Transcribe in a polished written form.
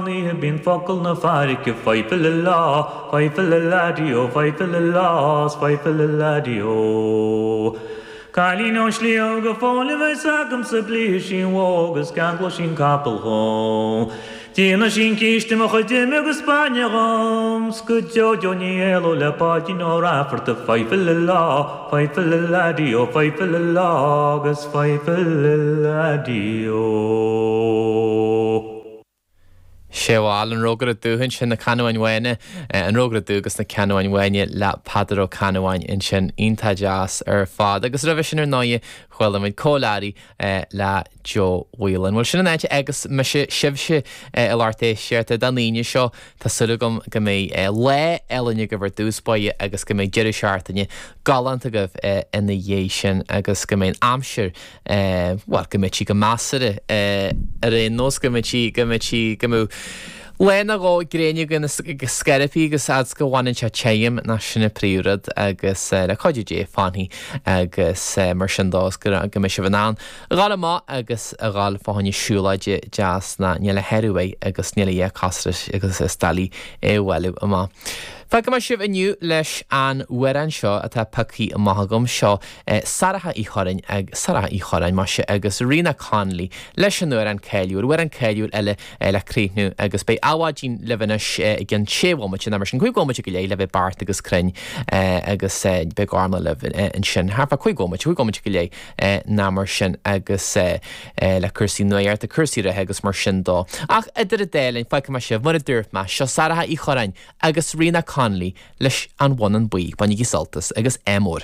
meán oíche bíonn focal na fairrge Fai-fa-li-lá, fai-fa-li-lá-dí-ó, fai-fa-li-lá, 's fai-fa-li-lá-dí-ó. Cailín ón sliabh go fóill a bheas agamsa blífidh sí an bhó agus ceanglóidh sí an capall dhom. Déanfaidh sí an císte mo chuid ime agus bainne dhom 's go deo deo ní éalóidh le Páidín Ó Raifeartaigh Fai-fa-li-lá, fai-fa-li-lá-dí-ó, fai-fa-li-lá agus fai-fa-li-lá-dí-ó. Sé bhuel, an Rógaire Dubh ansin, na Canúáin Bhána, an Rógaire Dubh agus na Canúáin Bhána le Peadar Ó Canúáin ansin, iontach deas ar fad. Agus roimhe sin ar ndóighe, chuala muid Cóil Árraí le Joe Whelan. Bhuel, sin an áit a fhágas mise sibhse a lucht éisteachta don Aoine seo. Tá súil agam go mbeidh lá álainn agaibh ar dtús báire agus go mbeidh deireadh seachtaine galánta agaibh ina dhiaidh sin agus go mbeidh an aimsir bhuel, go mbeidh sí go measartha ar aon nós, go mbeidh sí, go mbeidh sí, go mbeidh lá nó dhó gréine againn go scairpí agus fhad 's go bhfanann sé tirim, ná sin an príomhrud agus le cuidiú Dé fanfaidh agus mar sin dó is go go mbeidh sibh in ann a dhul amach agus a dhul fá choinne siúlóide deas ná níl a shárú uaidh agus níl a dhath cosúil leis agus is doiligh é a bhailiú amach. Fágfaidh mé sibh inniu leis an amhrán seo atá pioctha amach agam, seo Sarah Uí Chorráin ag Sarah Uí Chorráin, maise, agus Ríona Connolly leis an amhrán cáiliúil, amhrán cáiliúil eile le críochnú agus beidh Adhmhaidin libh anois i gcionn sé bhomaite, nó mar sin, cúig bhomaite go leith le bheith beart agus cruinn agus beidh Gormlaith libh ansin thart fá cúig bhomaite, cúig bhomaite go leith nó mar sin agus le cúrsaí nuachta, cúrsaí reatha agus mar sin dó. Ach idir an dá linn, fágfaidh mé sibh, mar a dúirt mé, seo Sarah Uí Chorráin agus Ríona Connolly leis An Bhonnán Buí. Bainigí sult as agus ádh mór.